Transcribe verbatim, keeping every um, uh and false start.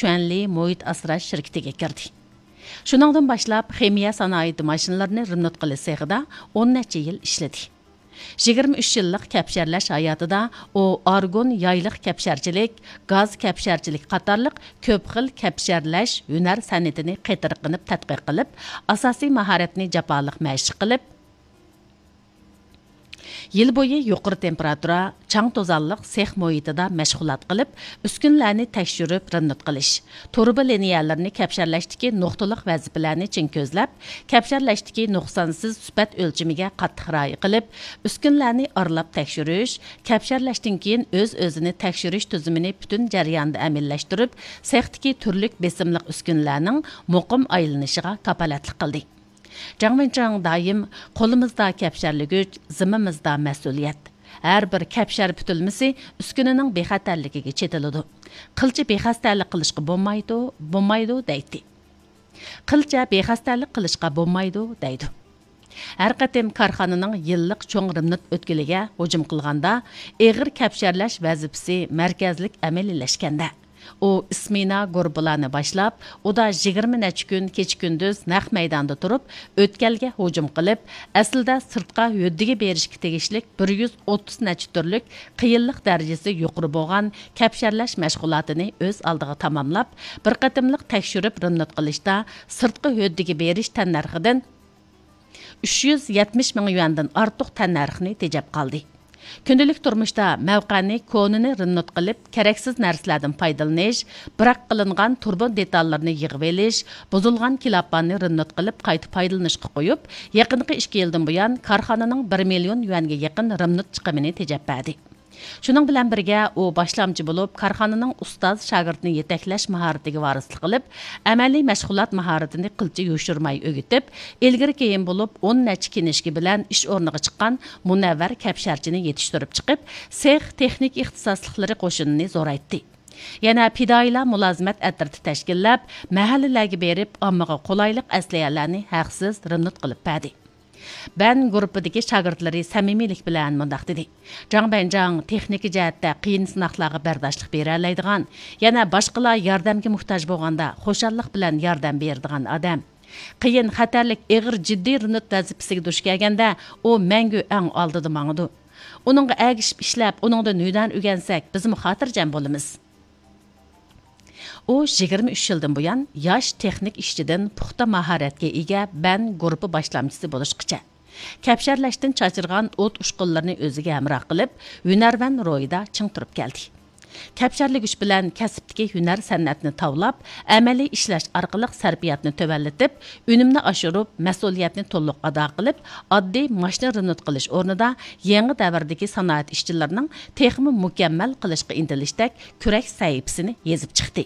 شۈەنلى مۇھىت ئاسراش شىركىتىگە كىردى. شۇنىڭدىن باشلاپ خىمىيە سانائىتى ماشىنىلىرىنى رېمونت قىلىش سېخىدا ئون نەچچە يىل ئىشلىدى. يىگىرمە ئۈچ يىللىق كەپشەرلەش ھاياتىدا ئۇ ئارگون يايلىق كەپشەرچىلىك، گاز كەپشەرچىلىكى قاتارلىق كۆپ خىل كەپشەرلەش ھۈنەر سەنئىتىنى قېتىرقىنىپ تەتقىق قىلىپ، ئاساسىي ماھارەتنى جاپالىق مەشىق قىلىپ، يىل بويى يۇقىرى تېمپېراتۇرا، چاڭ توزانلىق سېخ مۇھىتىدا مەشغۇلات قىلىپ، ئۈسكۈنىلەرنى تەكشۈرۈپ رېمونت قىلىش، تۇرۇبا لىنىيەلىرىنى كەپشەرلەشتىكى نۇقتىلىق ۋەزىپىلەرنى چىڭ كۆزلەپ، كەپشەرلەشتىكى نۇقسانسىز سۈپەت ئۆلچىمىگە قاتتىق رىئايە قىلىپ، ئۈسكۈنىلەرنى ئارىلاپ تەكشۈرۈش، كەپشەرلەشتىن كېيىن ئۆز-ئۆزىنى تەكشۈرۈش تۈزۈمىنى پۈتۈن جەرياندا ئەمەلىيلەشتۈرۈپ، سېختىكى تۈرلۈك بېسىملىق ئۈسكۈنىلەرنىڭ مۇقىم ئايلىنىشىغا كاپالەتلىك قىلدى. جاڭ ۋېنچاڭ دائىم: «قولىمىزدا كەپشەرلىگۈچ، زىممىمىزدا مەسئۇلىيەت. ھەر بىر كەپشەر پۈتۈلمىسى ئۈسكۈنىنىڭ بىخەتەرلىكىگە چېتىلىدۇ. قىلچە بىخەستەلىك قىلىشقا بولمايدۇ، بولمايدۇ» دەيتتى. «قىلچە بىخەستەلىك قىلىشقا بولمايدۇ» دەيدۇ. ھەر قېتىم كارخانىنىڭ يىللىق چوڭ رېمونت ئۆتكىلىگە ھۇجۇم قىلغاندا، ئېغىر كەپشەرلەش ۋەزىپىسى مەركەزلىك ئەمەلىيلەشكەندە، ئۇ ئىسمېنا گۇرۇپپىلارنى باشلاپ، ئۇدا يىگىرمە نەچچە كۈن كېچە-كۈندۈز نەق مەيداندا تۇرۇپ، ئۆتكەلگە ھۇجۇم قىلىپ، ئەسلىدە سىرتقا ھۆددىگە بېرىشكە تېگىشلىك بىر يۈز ئوتتۇز نەچچە تۈرلۈك قىيىنلىق دەرىجىسى يۇقىرى بولغان كەپشەرلەش مەشغۇلاتىنى ئۆز ئالدىغا تاماملاپ، بىر قېتىملىق تەكشۈرۈپ رېمونت قىلىشتا سىرتقا ھۆددىگە بېرىش تەننەرخىدىن ئۈچ يۈز يەتمىش مىڭ يۈەندىن ئارتۇق تەننەرخنى تېجەپ قالدى. كۈندىلىك تۇرمۇشتا مەۋقەنى كونىنى رېمونت قىلىپ، كېرەكسىز نەرسىلەردىن پايدىلىنىش، بىراق قىلىنغان تۇربىنا دېتاللىرىنى يىغىۋېلىش، بۇزۇلغان كىلاپاننى رېمونت قىلىپ قايتا پايدىلىنىشقا قويۇپ، يېقىنقى ئىككى يىلدىن بۇيان كارخانىنىڭ بىر مىليون يۈەنگە يېقىن رېمونت چىقىمىنى تېجەپ بەردى. شۇنىڭ بىلەن بىرگە، ئۇ باشلامچى بولۇپ، كارخانىنىڭ ئۇستاز شاگىرتنى يېتەكلەش ماھارىتىگە ۋارىسلىق قىلىپ، ئەمەلىي مەشغۇلات ماھارىتىنى قىلچە يوشۇرماي ئۆگىتىپ، ئىلگىرى كېيىن بولۇپ ئون نەچچە كىنىشكا بىلەن ئىش ئورنىغا چىققان مۇنەۋۋەر كەپشەرچىنى يېتىشتۈرۈپ چىقىپ، سېخ تېخنىكا ئىختىساسلىقلىرى قوشۇنىنى زورايتتى. يەنە پىدائىيلار مۇلازىمەت ئەترىتى تەشكىللەپ، مەھەللىلەرگە بېرىپ، ئاممىغا قولايلىق ئەسلىھەلەرنى ھەقسىز رېمونت قىلىپ بەردى. بەن گۇرۇپپىدىكى شاگىرتلىرى سەمىمىيلىك بىلەن مۇنداق دېدى: «جاڭ بەنجاڭ تېخنىكا جەھەتتە قىيىن سىناقلارغا بەرداشلىق بېرەلەيدىغان، يەنە باشقىلار ياردەمگە موھتاج بولغاندا خۇشاللىق بىلەن ياردەم بېرىدىغان ئادەم. قىيىن، خەتەرلىك، ئېغىر، جىددىي رېمونت ۋەزىپىسىگە دۇچ كەلگەندە، ئۇ مەڭگۈ ئەڭ ئالدىدا ماڭىدۇ. ئۇنىڭغا ئەگىشىپ ئىشلەپ، ئۇنىڭدىن ھۈنەر ئۆگەنسەك، بىزمۇ خاتىرجەم بولىمىز.» ئۇ يىگىرمە ئۈچ يىلدىن بۇيان ياش تېخنىك ئىشچىدىن پۇختا ماھارەتكە ئىگە بەن گۇرۇپپا باشلامچىسى بولۇشقىچە، كەپشەرلەشتىن چاچرىغان ئوت ئۇچقۇنلىرىنى ئۆزىگە ھەمراھ قىلىپ، ھۈنەرۋەن روھىدا چىڭ تۇرۇپ كەلدى. كەپشەرلىگۈچ بىلەن كەسىپتىكى ھۈنەر سەنئەتنى تاۋلاپ، ئەمەلىي ئىشلەش ئارقىلىق سەرپىياتنى تۆۋەنلىتىپ، ئۈنۈمنى ئاشۇرۇپ، مەسئۇلىيەتنى تولۇق ئادا قىلىپ، ئاددىي ماشىنا رېمونت قىلىش ئورنىدا يېڭى دەۋردىكى سانائەت ئىشچىلىرىنىڭ تېخىمۇ مۇكەممەل قىلىشقا ئىنتىلىشتەك كۈرەش سەھىپىسىنى يېزىپ چىقتى.